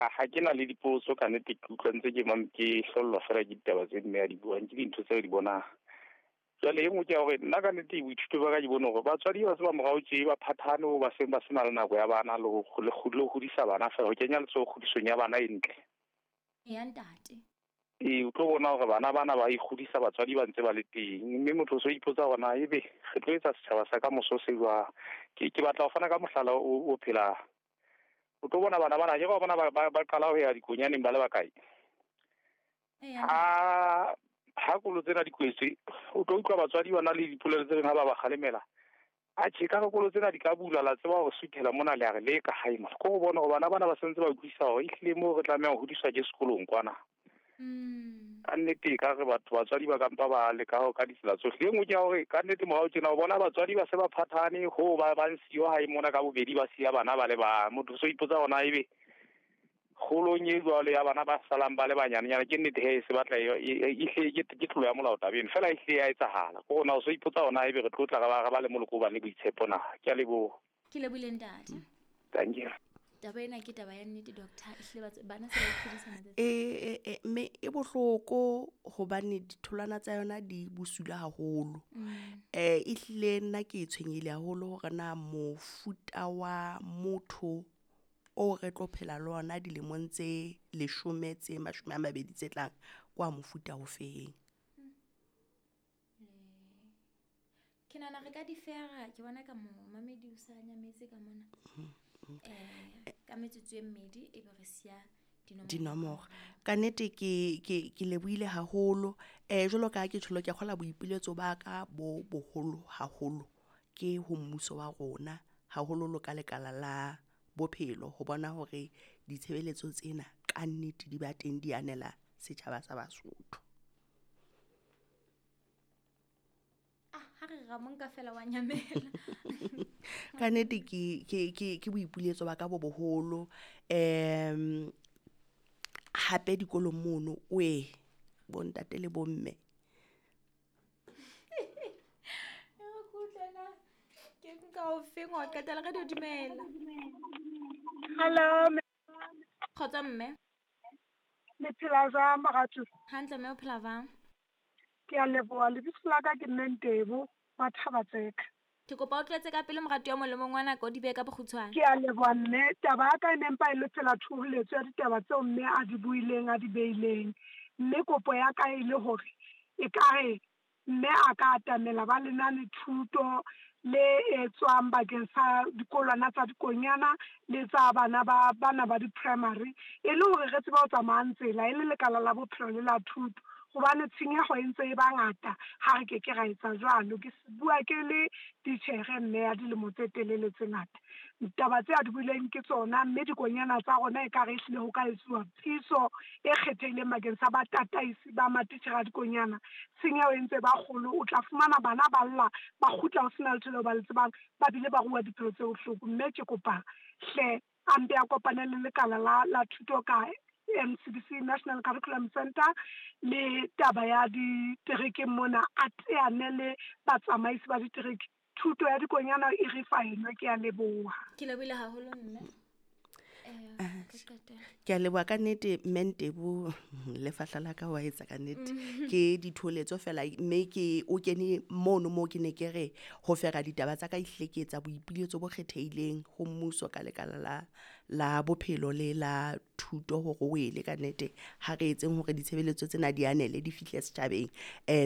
Ha ke na le dipotso ka nnete, ke utlwa ntse ke ke hlollwa fela ke ditaba tse mme a di buang, ke dintho tse re di bonang. Jwale e nngwe ke ya hore nna ka nnete boithuto ba ka ke bone hore batswadi ba se ba morao tje ba phathane ho ba seng ba sena le nako ya bana le ho le le ho hodisa bana fela, ho kenya letsoho kgodisong ya bana e ntle. Ya ntate. Ee, o tlo bona hore bana bana ba ikgodisa batswadi ba ntse ba le teng, mme motho o so ipotsa hore na ebe re tlo etsa setjhaba sa ka moso se jwang. Ke batla ho fana ka mohlala o phelang. O tlo bona bana bana, ke ba bona ba qala ho ya dikonyaneng ba le bakae. Ha kolo tsena di kwetswe, o tlo utlwa batswadi ba na le dipolelo tse ding ha ba ba kgalemela. Atjhe, ka re kolo tsena di ka bula, la tseba hore suthela mona le a re le ka hae mona. Ke ho bona hore bana bana ba sentse ba utlwisisa hore ehlile moo re tlameha ho hodiswa ke sekolong kwana. Ka nnete ka re batho batswadi ba kampa ba leka ho ka ditsela tsohle. E nngwe ke ya hore ka nnete morao tjena o bona batswadi ba se ba phathane ho ba ba nsiyo hae mona ka bobedi, ba siya bana ba le bang. Motho o so ipotsa hore na ebe kgolong e jwalo ya bana ba salang ba le banyanenyana, ke nnete he se batla e hle ke tlolo ya molao tabeng, fela e hle ya etsahala. Ke hore na o so ipotsa hore na ebe re tlo tla re ba le moloko o bang le boitshepo na. Ke a leboha. Ke lebohile ntate. Thank you. Taba ena ke taba ya nnete, doctor. Ehlile bana se ba ikgodisa matsatsi. Mme e bohloko hobane ditholwana tsa yona di bosula haholo. Ehlile nna ke tshwenyehile haholo hore na mofuta wa motho o re tlo phela le ona dilemong tse 10 tse 20 tse tlang kwa mofuta o feng. Ke nahana re ka di fera, ke bona ka mo mamedi o sa nyametse ka mona. Ka metsotso e mmedi e be re siya dinomoro. Ka nnete ke lebohile haholo. Jwalo ka ha ke tjholo, ke kgola boipiletso ba ka bo boholo haholo ke ho mmuso wa rona, haholoholo ka lekala la bophelo, ho bona hore ditshebeletso tsena ka nnete di ba teng, di anela setjhaba sa Basotho. Ha re ra monka fela wa nyamela. Ka nnete ke boipiletso ba ka bo boholo. Hape dikolong mono, we bontate le bomme. Re kutlwana. Ke nka o feng wa qetela re di dumela. Hello. Kgotsa mme. Le phela jwang moratuwa? Hantle mme, o phela jwang? Ke a leboha, lebitso la ka ke mme Ntebo wa Thabatseka. Ke kopa o tletse ka pele moratuwa molemong wa nako, di behe ka bokgutshwane. Ke a leboha mme, taba ya ka e ne mpa e le fela thoholetso ya ditaba tseo mme a di buileng, a di beileng. Mme kopo ya ka e le hore ekare mme a ka atamela ba lenane thuto le etswang bakeng sa dikolwana tsa dikonyana le tsa bana ba bana ba di-primary, e le hore re tsebe ho tsamayang tsela e le lekala la bophelo le la thuto, hobane tshenyeho e ntse e ba ngata ha re ke ke ra etsa jwalo. Ke bua ke le titjhere mme ya dilemo tse telele tse ngata. Ditaba tse a di buileng ke tsona, mme dikonyana tsa rona ekare ehlile ho ka etsuwa phiso e kgethehileng bakeng sa batataisi ba matitjhere a dikonyana. Tshenyeho e ntse ba kgolo, o tla fumana bana ba lla, ba kgutla ho sena letho leo ba le tsebang, ba bile ba rua diphelo tse bohloko. Mme ke kopa hle a mpe a kopane le lekala la thuto ka NCBC, National Curriculum Center, le taba ya diterekeng mona, a teane le batsamaisi ba ditereke. Thuto ya dikonyana e re fa ena, ke a leboha. Ke lebohile haholo mme. Ke a leboha ka nnete mme Ntebo, lefahla la ka wa etsa ka nnete. Ke ditholetso fela, mme ke o kene mono moo ke ne ke re ho fera ditaba tsa ka, ehlile ke etsa boipiletso bo kgethehileng ho mmuso ka lekala la bophelo le la thuto hore o ele ka nnete ha re etseng hore ditshebeletso tsena di anele di fihle setjhabeng.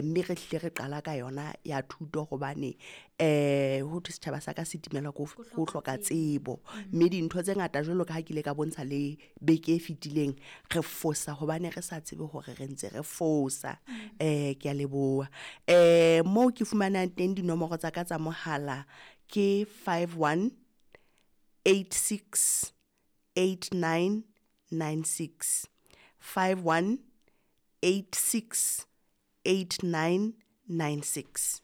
Mme re hlile re qala ka yona ya thuto hobane ho thwe setjhaba sa ka se timelwa ke ho hloka tsebo. Mme dintho tse ngata jwalo ka ha ke ile ka bontsha le beke e fetileng, re fosa hobane re sa tsebe hore re ntse re fosa. Ke a leboha. Moo ke fumanang teng dinomoro tsa ka tsa mohala ke 51 86 89 96. 51 86 89 96.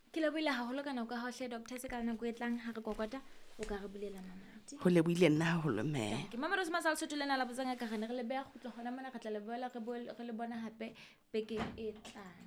Ke lebohile haholo ka nako ya hao hle, Doctor, se ka nako e tlang ha re kokota o ka re bulela mamati. Ho lebohile nna haholo mme. Ke Mama Rose Masal Sotho lena la botsanga ka re ne re le beha kgutlo hona mona, re tla le boela re le bona hape bekeng e tlang.